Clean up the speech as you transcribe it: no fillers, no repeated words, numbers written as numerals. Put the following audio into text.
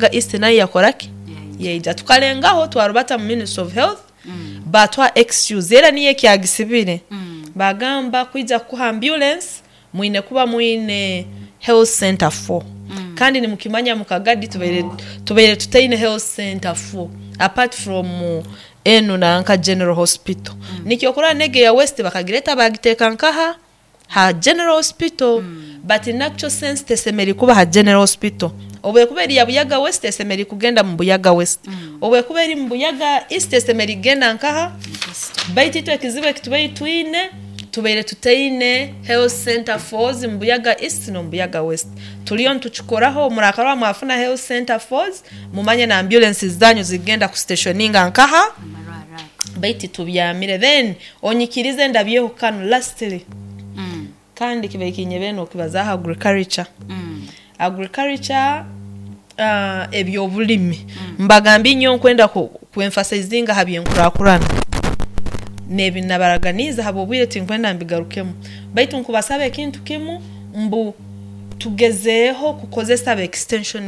East nayo yakora ki? Yaija. Tukarengaho twarubata mu Ministry of Health baatuha excuse era niyo ekyagisibire. Baagamba kwija kukuha ambulance mwine kuba mwine health center four. Kandi nimukimanya mu Kagadi tubaire tubaire tutaine health center four apart from enu nanka General Hospital. Nikyo okurora n'egi eya West bakagireta baagiteeka nkaha? Ha General Hospital but in actual sense tesemeriire kuba ha General Hospital. Obu ekuba eri ya Buyaga West esemeriire kugenda mu Buyaga West. Obu ekuba eri mu Buyaga East esemeriire kugenda nkaha? Baitu itwe ekizibu eki tubaire twine, tubaire tutaine health center fours mu Buyaga East n'omu Buyaga West. Turiyo nitukikoraho, murakarora mwafuna health center fours, mumanye na ambulensi zanyu zirikugenda kustationinga nkaha? Baitu tubyamire. Then Onyikirize ndabyeho kanu lastly kandi kibaire kinyebere nokibazaaho agriculture. Agriculture ebyobulimi mbagambire nyowe nkwenda ku emphasizinga aha byenkurakurana nebi nabaraganiize ahabwobwire tinkwenda mbigarukemu baitu nkubasaba ekintu kimu mbu tugezeeho kukozesa aba extension.